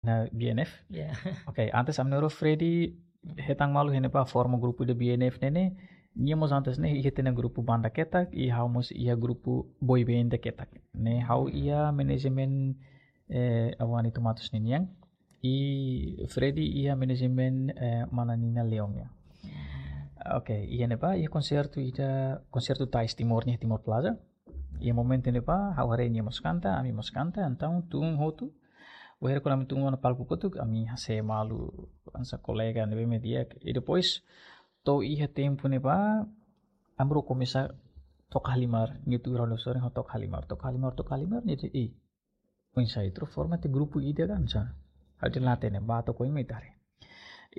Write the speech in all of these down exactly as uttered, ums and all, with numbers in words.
iha B N F. Ya. Ok, antes ami na'in-rua Freddy hetan malu iha ne'ebá forma grupu ida B N F ne'e ne'e. Nia mós antes ne'e iha tiha ona grupu banda ketak, i ha'u mós iha grupu boy band ketak. Ne'e ha'u iha manajemen eh, Avani Tomatus ninian. I Freddy iha manajemen eh, Mana Nina Leon nian. Ok, iha ne'ebá iha konsertu ida, konsertu Tais Timor nian, Timor Plaza. Iha momentu ne'ebá ha'u haree nia mós kanta, ami mós kanta, entaun tun hotu. Wainhira kuandu ami tun ona palku kotuk, ami hase'e malu hanesan kolega ne'ebé mak di'ak. I depois to'o iha tempu ne'ebá ami rua komesa toka halimar, nia tuur ha'u-nia sorin, ha'u toka halimar, toka halimar, toka halimar, nia dehan, "Ih, oinsá ita rua forma tiha grupu ida ka oinsá?" Ha'u dehan, "La hatene, bá to'o oin mai ita haree."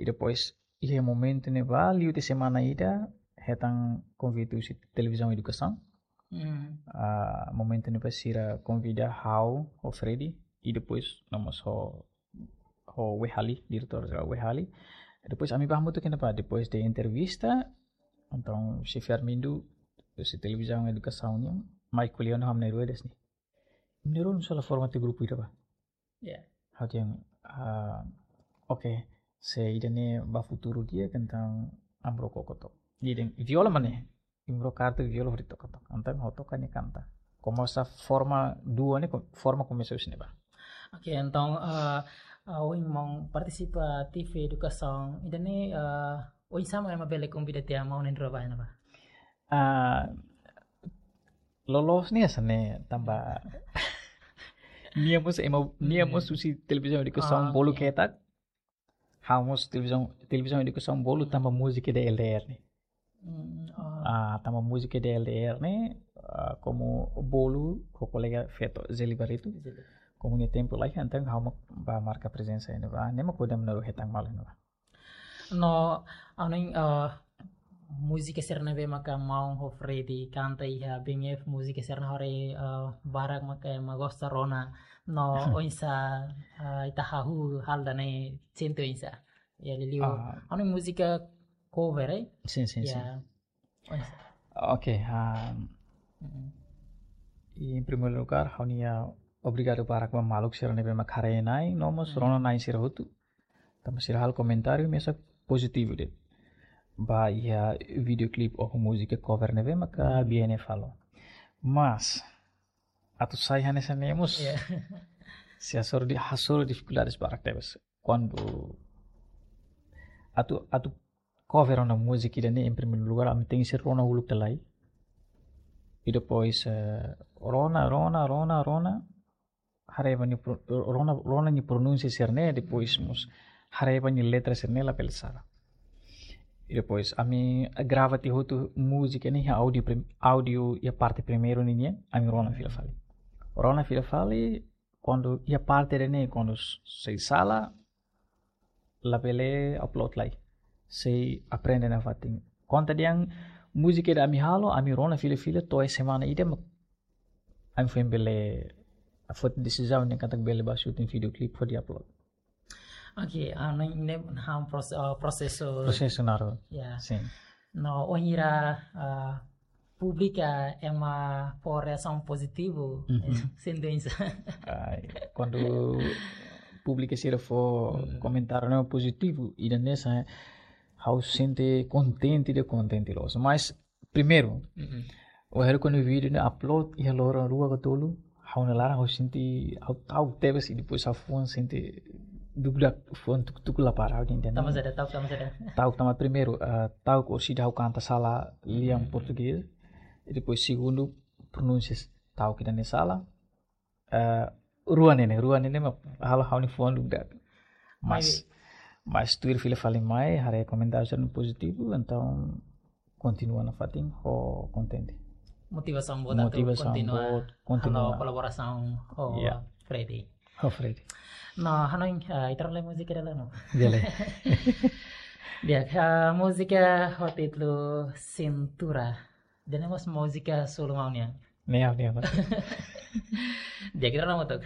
I depois iha momentu ne'ebá, liu tiha semana ida, hetan konvite husi Televizaun Edukasaun. Hmm. Ah, momentu ne'ebá sira konvida ha'u ho Freddy, i depois no mós ho, ho Wehali, diretór jerál Wehali. Depois ami bá hamutuk iha ne'ebá, depois de entrevista, entaun xefe Armindo, husi Televizaun Edukasaun nian, mai ko'alia ona ho ami na'in-rua dehan, "Imi na'in-rua oinsá la forma tiha grupu ida bá?" Ya. Ha'u dehan, ah, ok, se ida-ne'e ba futuru di'ak, entaun ami rua koko to'ok. Nia dehan, "Viola mak ne'e?" Imi rua kartu viola hodi toka to'ok. Entaun ha'u toka nia kanta. Komesa forma duo ne'e, ko-, forma komesa husi ne'ebá. Ok, entaun, ah, ah, ohin maun partisipa ativu edukasaun ida-ne'e, ah, oinsá mak ema bele konvida tiha maun na'in-rua bá iha ne'ebá? Ah, loloos ne'e hanesan ne'e tanba nia mós ema, nia mós husi Televizaun Edukasaun Ah, bolu ok. Ketak. Ha'u mós Televizaun, Televizaun Edukasaun bolu tanba múzika D L D R ne'e. Hmm, oh. Ah, tanba múzika D L D R ne'e, ah, komu bolu ho kolega feto Zeli Barreto. Komu nia tempu laiha, entaun ha'u mak bá marka prezensa iha ne'ebá. Ne'e mak hodi ami na'in-rua hetan malu iha ne'ebá. No, anu, eh, múzika sira ne'ebé maka maun ho Freddy kanta iha B N F, múzika sira ne'ebé, eh, barak maka ema gosta rona. No, oinsá, eh, ita hahú hal ida-ne'e sente oinsá? Ya, liuliu. Ah. Anu, múzika cover, eh? Sin, sin, sin. Ya. Oinsá? Ok, ah, Mm. i em primeiru lugár, ha'u-nia obrigadu barak ba maluk sira ne'ebé mak haree-na'in, no mós rona-na'in sira hotu. Tanba sira halo komentáriu mesak pozitivu de'it ba iha videoclip ou múzika cover ne'ebé maka B N F halo. Mas atu sai hanesan ne'e mós, Ya. sei hasoru di, hasoru difikuldades barak tebes. Kuandu atu, atu cover ona múzika ida-ne'e, em primeiru lugár, ami tenke rona uluk tiha lai. I depois, eh, rona, rona, rona, rona. Haree ba nia pro-, rona, rona nia pronúnsia sira-ne'e, depois mós haree ba nia letra sira-ne'e labele sala. I depois ami grava tiha hotu múzika ne'e iha áudio prim-, áudio iha parte primeiru ninian, ami rona fila fali. Rona fila fali, kuandu iha parte ida-ne'e, kuandu s-, sei sala, labele upload lai. Sei aprende nafatin. Konta dehan múzika ida ami halo, ami rona fila fila to'o semana ida mak ami foin bele foti desizaun dehan katak bele bá shooting videoclip hodi upload. Ok, ah, ne'e, ne'e hanesan prose-, ah, prosesu. Prosesu naruk. Ya. Sin. No, wainhira, ah, públiku ema fó reasaun pozitivu, Mhm. Sente oinsá? Ai, kuandu públiku sira fó Hmm. komentáriu ne'e pozitivu, ida-ne'e sai ha'u sente kontente, de kontente loos. Mas primeiru, Mhm. wainhira kuandu vídeo ne'e upload iha loron rua ka tolu, ha'u-nia laran ha'u sente ha'u ta'uk tebes, i depois ha'u fuan sente dúvida, fuan tuku-tuku la para, ha'u dehan. Tanba saida, ta'uk tanba saida? Ta'uk tanba primeiru, ah, ta'uk orsida ha'u kanta sala lian portugés. I depois segundu, pronúnsia ta'uk ida-ne'e sala. Eh, rua ne'e ne'e, rua ne'e ne'e mak halo ha'u-nia fuan dúvida. Mas, Mai. Mas tuir fila fali mai, haree komentáriu sira pozitivu, entaun kontinua nafatin ho kontente. Motivasaun boot atu Motivasaun kontinua boot, kontinua. Halo kolaborasaun ho Ya. Freddy. Ho Freddy. No, hanoin, ah, ita rona lai múzika ida lai no. Di'ak lai. Di'ak, ah, múzika ho títulu Cintura. Ida-ne'e mós múzika solo maun nian? Ne'e, ne'e, ne'e. Di'ak, ita rona hamutuk.